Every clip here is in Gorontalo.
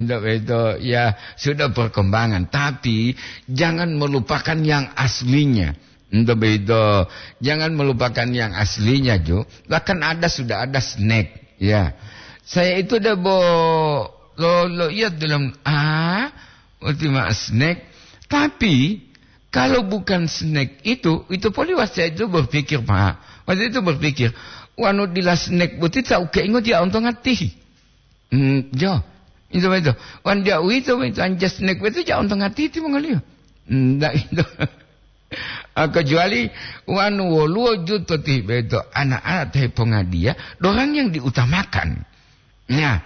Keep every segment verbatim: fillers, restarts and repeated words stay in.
Ndak begitu, ya, sudah perkembangan, tapi jangan melupakan yang aslinya. Ndak begitu, jangan melupakan yang aslinya, Jo. Bahkan ada, sudah ada snack, ya. Saya itu udah bo-, lo, lo iya dalam, ah, ultima snack. Tapi, kalau bukan snack itu, itu poli waktu itu berpikir, Pak. Waktu itu berpikir, "Wanu dila snack boti tau keingo dia ontong atihi." Hmm, jo. Itu betul. Wan dia uwito, itu anja snack betul, ja ontong atihi timongoliyo. Hmm, ndak itu. Ah, kecuali wanu woluwo juta tih beto, anak-anak teh pongadiya, dorang yang diutamakan. Nah,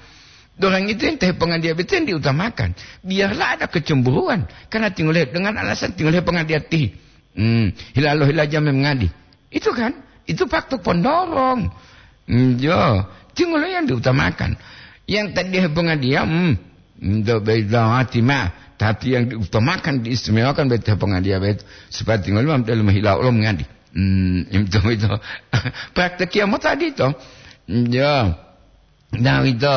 dorang itu yang teh pongadiya betul yang diutamakan. Biarlah ada kecemburuan, karena tinggal dengan alasan tinggal pongadiya tih. Hmm, hilalo hilaja mengadi. Itu kan, itu faktor pendorong. Hmm, jo, tinggal yang diutamakan. Yang tadi pongadiya, hmm, Ndak beda mati ma, tapi yang diutamakan, diistimewakan beta pongadiya beta, supaya tinggal mam dalam hilau lo mengadi. Hmm, itu, itu. Praktek kiamat tadi to. Ya. Nah, itu.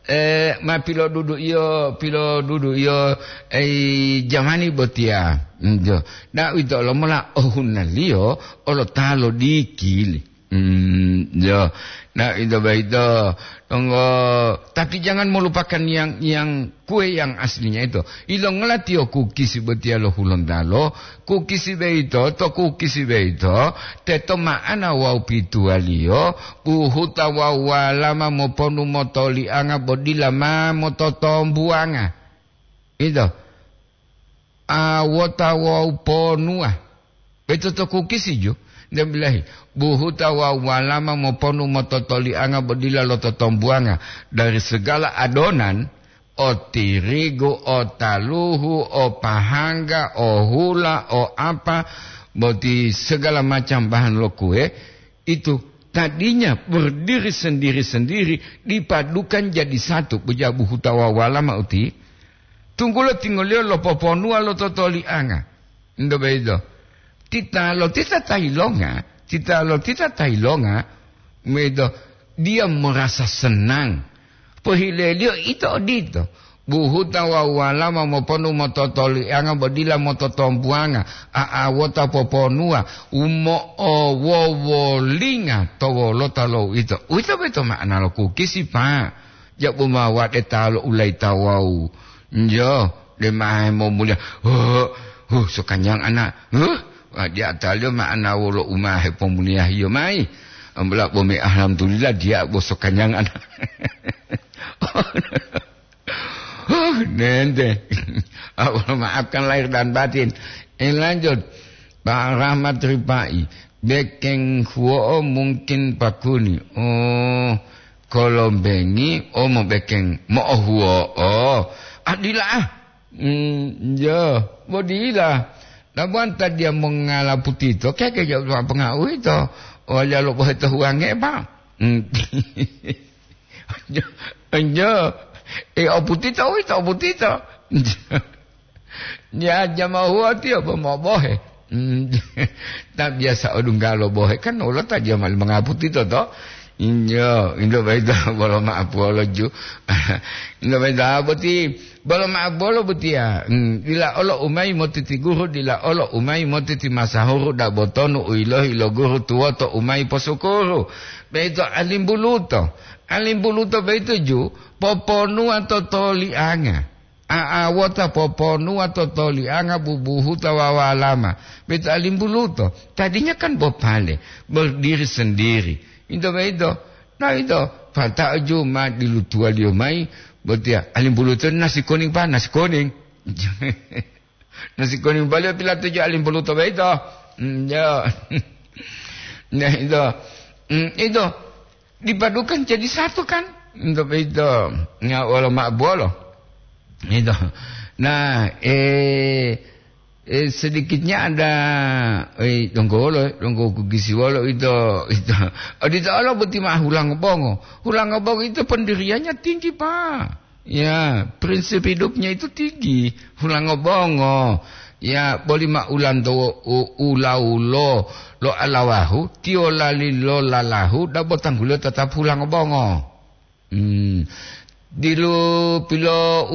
Eh, ma pilodudu iyo, pilodudu iyo, eh, jamani botia. Hmm, jo. Nah, itu lo mola ohunaliyo, olo talo dikili. Hmm, ya. Nah, itu baik itu. Tunggu. Tapi jangan melupakan yang, yang kue yang aslinya itu. Ilongola tiyo kukisi botia lo Hulontalo, kukisi beito, to kukisi beito, teto ma'ana wawu pituwaliyo, buhuta wawu walama moponu motolianga bo dila ma mototombuwanga. Itu. Awota wawu ponuwa. Beto to kukisi ju, nde bilahi, buhuta wawu walama moponu mototolianga bo dila lototombuwanga dari segala adonan, o tirigu, o taluhu, o pahangga, o hula, o apa, boti segala macam bahan lo kue, itu tadinya berdiri sendiri-sendiri, dipadukan jadi satu, bejabu hutawa walama uti, tunggulo tingoliyo lopoponuwa lo totolianga. Ndo beito. Tita lo tita ta ilonga, tita lo tita ta ilonga, medo dia merasa senang. Pohileliyo ito odito. Buhuta wawu walama moponu mototolianga bo dila mototombuwanga, a'awota poponuwa, umo'owowolinga to wolota lo uwito. Uwito boyito ma'ana lo kukisi, Pak. Jabu ma wade ta lo ulaita wawu. Njo, de ma hemomuliya. Huh, huh, sokanyang ana. Huh, wadiya taliyo ma'ana wolo u ma hepomuliyahiyo mayi. Ambola bo me alhamdulillah diya bo sokanyang ana. Huh, nente. Allah maafkan lahir dan batin. Eh, lanjut. Pak Rahmat Ripai, bekeng huwo'o mungkin pakuni. Oh, kolombengi, oh, mobekeng mo'ohuwo'o. Ah, dila, ah. Hmm, ya, bo dila. Labuanta dia mongala putito, keke jauh pengau itu. Oh, ya lo bohe to huwange, Pak. Hmm. Enjo, enjo. Eh, oputito, uwito oputito. Ya, jama huwa tiyo bo mobohe. Hmm, ta biasa odunggalo bohe kan ulo ta jama mangaputito to. Injo, indo baita bolo maapuwolo ju. Indo baita boti, bolo maapuwolo botiya. Hmm, dila olo umayi motiti guru, dila olo umayi motiti masahuru, dabotonu uyilohi lo guru tuwoto umayi posukuru. Beito alimbuluto. Alimbuluto boyito ju poponuwa to tolianga. A'awota poponuwa to tolianga bubuhuta wawu walama. Boyito alimbuluto. Tadinya kan bopale, berdiri sendiri. Ito boyito. Nah, ito. Pata'o ju ma dilutuwaliyo mayi, botiya alimbuluto nasi kuning, Pak, nasi kuning. Nasi kuning baliyo pilatuju alimbuluto boyito. Hmm, yo. Nah, itu. Hmm, itu. Dipadukan jadi satu kan? Untuk itu. Ya, wolo ma'abolo. Itu. Nah, eh, eh, sedikitnya ada, eh, donggo wolo, donggo kugisi wolo itu, itu. Odito olo boti ma hulang bongo. Hulang bongo itu pendiriannya tinggi, Pak. Ya, prinsip hidupnya itu tinggi. Hulango bongo. Ya, boli ma ulanto u-, ulawulo lo alawahu, tiyo lali lo lalahu, dabo tangguliyo tetap hulango bongo. Hmm. Dilu pilo